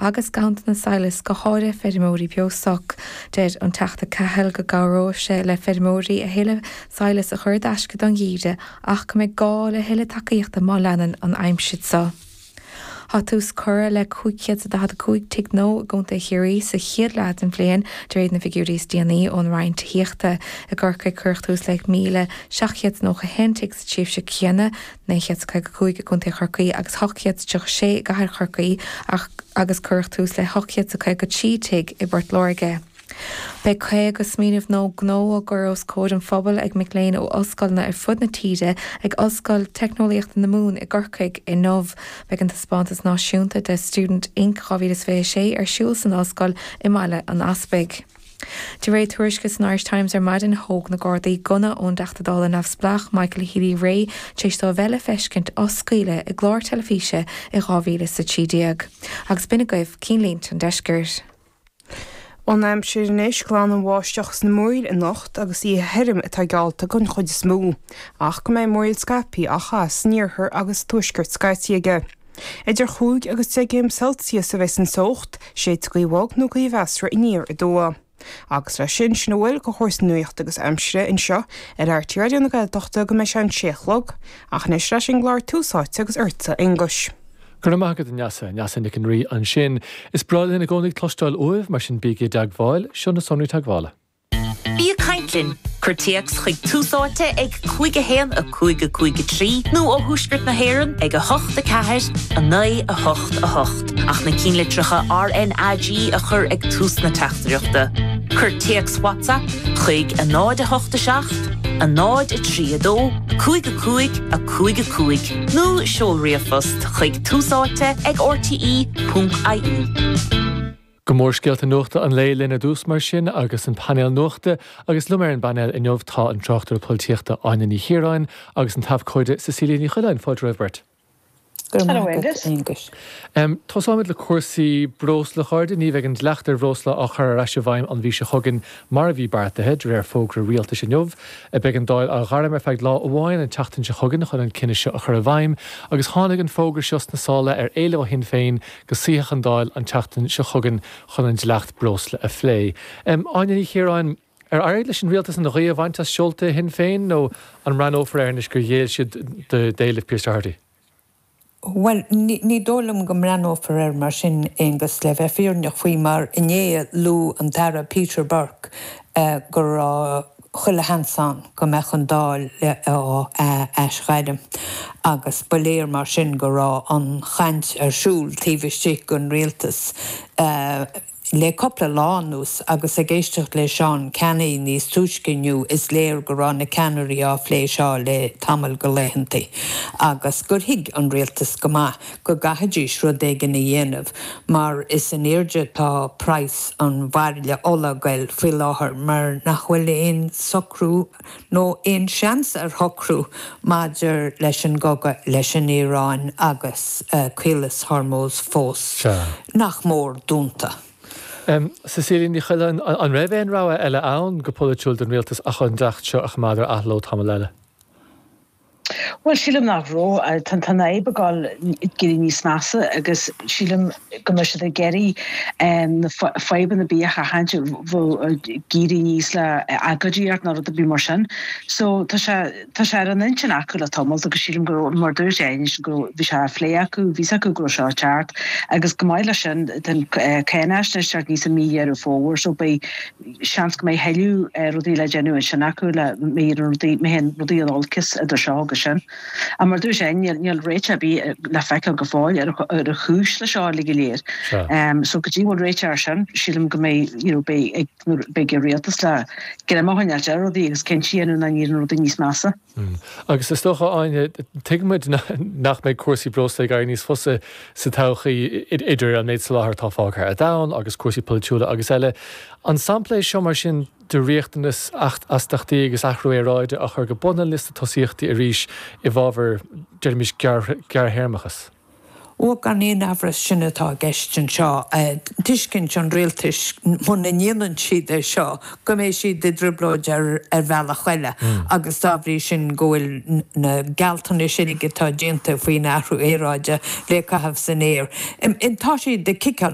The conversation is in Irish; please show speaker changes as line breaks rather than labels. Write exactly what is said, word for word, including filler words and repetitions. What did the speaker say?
agus ganntanas sadhlais go háirithe feirmeoirí beostoic. Deir an Teachta Cahill go gcabhróidh sé le feirmeoirí a thuilleadh sadhlais a chur i dtaisce don gheimhreadh ach go mbeidh gá le thuilleadh tacaíochta má leanann an aimsir seo. Tá tús curtha le cúig chéad daichead a cúig tigh nua i gContae Chiarraí sa chéad leath den bhliain de réir na bhfigiúirí is déanaí ón Roinn Tithíochta. I gCorcaigh cuireadh tús le míle seacht gcéad nócha a haon tigh sa tréimhse chéanna, naoi chéad caoga cúig i gContae Chorcaí agus ocht gcéad tríocha sé i gCathair Chorcaí agus cuireadh tús le hocht gcéad caoga trí tigh i bPort Láirge. Beidh caoga smaoineamh nua gnó á gcur os comhair an phobail ag mic léinn ó ollscoileanna ar fud na tíre ag Ollscoil Teicneolaíochta na Mumhan i gCorcaigh inniu. Beidh an taispeántas náisiúnta de Student Inc dhá mhíle is fiche a sé ar siúl san ollscoil i mBaile an Easpaig. De réir tuairisce san Irish Times ar maidin, thóg na Gardaí gunna ón dTeachta Dála neamhspleách Michael Healy-Rae tar éis dó a bheith le feiscint á scaoileadh i gclár teilifíse i dhá mhíle is a trí déag. Agus b'in agaibh cinnlínte an deiscirt.
An aimsir anois, glan an bháisteach is na múraíl anocht agus oíche thirim atá geallta don chuid is mó, ach go mbeidh múraíl scaipthe á chaitheamh san iarthar agus tuaisceart scaití aige. Idir chúig agus deich gcéim Celsius a bheas an teocht, séidfidh gaoth bhog nó gaoth mheasartha aniar aduaidh. Agus leis sin, sin a bhfuil de chúrsaí nuachta agus aimsire anseo ar RTÉ Raidió na Gaeltachta go mbeidh sé an sé a chlog, ach anois leis an gclár Tús Áite agus ortsa a Aonghuis.
Go raibh maith agat, a Neasa. Neasa Nic an Rí ansin. Is breá linn i gcónaí cloisteáil uaibh, mar sin bígí i dteagmháil. Seo na sonraí teagmhála.
Bí ag caint linn! Cuir téacs chuig Tús Áite ag cúig a haon a cúig a cúig a trí nó ó thuaisceart na hÉireann ag a hocht a ceathair a naoi a hocht a hocht ach na cinnlitreacha R N A G a chur ag tús na teachtaireachta. Cuir téacs WhatsApp chuig a náid a hocht a seacht, a náid a trí a dó, cúig a cúig a cúig a cúig nó seol ríomhphost chuig túsáite ag R T E ponc I E.
Go mórscéalta nuachta an lae linn ar dtús mar sin agus an painéal nuachta agus liom ar an bpainéal inniu tá an tráchtaire polaitíochta Áine Ní Chiaráin agus an t-abhcóide Cecilia Ní Choileáin. Fáilte romhaibh beirt.
Hello, Angus.
Um, Tosóimid le cúrsaí breosla, a chairde. Ní bheidh an dleacht ar bhreosla á chur ar ais i bhfeidhm an mhí seo chugainn mar a bhí beartaithe de réir fógra rialtais inniu. Beidh an Dáil á ghairm ar feadh lá amháin an tseachtain seo chugainn chun an cinneadh seo a chur i bhfeidhm, agus tháinig an fógra seo sna sála ar éileamh ó Shinn Féin go suífeadh an Dáil an tseachtain seo chugainn chun an dleacht breosla a phlé. Um, Áine Ní Chiaráin, ar éirigh leis an rialtas an ghaoth a bhaint as seolta Shinn Féin nó an mbreathnófar air anois gur ghéill siad d'éileamh Pearse Doherty?
Well, ní dóigh liom go mbreathnófar air mar sin, Aonghus, le bheith fírinneach faoi, mar inné luaigh an tAire Peter Burke go raibh chuile sheans ann go mbeadh an Dáil á aisghairm agus ba léir mar sin go raibh an chaint ar siúl taobh istigh den rialtas le cúpla lá anuas agus ag éisteacht le Seán Canney níos túisce inniu is léir go raibh na ceannairí á phlé seo le tamall de laethanta agus gur thuig an rialtas go maith go gcaithfidís rud éigin a dhéanamh mar is in airde tá praghas an bhairille ola ag goil faoi láthair mar nach bhfuil aon socrú nó aon seans ar shocrú maidir leis an gcogadh leis an Iaráin agus Caolas Hormuz fós nach mór dúnta.
Um, Cecilia Ní Choileáin, an raibh aon rogha eile ann go polaitiúil don rialtas ach an dleacht seo a choimeád ar athló tamall eile?
Well, sílim nach raibh. Tá an fhadhb ag dul ag éirí níos measa agus sílim go mbeidh siad ag iarraidh na fadhbanna bia a sheachaint ag éirí níos le agóidíocht nó rud ar bith mar sin. So tá sé tá sé ar an intinn acu le tamall agus sílim go mar dúirt Áine go bhí sé á phlé acu, bhí acu go raibh seo ceart agus go maith leis sin den cáinaisnéis níos i mí Dheireadh Fómhair so beidh seans go mbeidh tuilleadh rudaí le déanamh ansin acu le mé rudaí mé rudaí an olcas idir seo agus sin. A mar dúirt sé níl réiteach ar bith le feiceáil go fóill ar ar a chúis le seo le go léir. Um, so go dtí bhfuil réiteach ar sin sílim go mbeidh you know, beidh beidh an rialtas le greim a choinneáil ar rudaí agus cinntiú nach n-éiríonn rudaí níos measa.
Mm. Agus is dócha, Áine, tuigimid nach mbeidh cúrsaí breosla ag éirí níos fusa sa todhchaí idir an méid soláthair atá fágtha ar domhan agus cúrsaí polaitiúla agus eile. An sampla é seo mar sin de riachtanas astachtaí agus athrú aeráide a chur go bun an liosta tosaíochtaí arís i bhfabhar deirimis gearrthéarmachas?
Ó gan aon amhras sin atá i gceist anseo, tuiscint an rialtais muna ndéanann siad é seo go mbeidh siad i dtrioblóid ar ar bhealach eile agus dá bhrí sin go bhfuil na gealltanais uilig atá déanta faoin athrú aeráide le caitheamh san aer. Tá siad ag ciceáil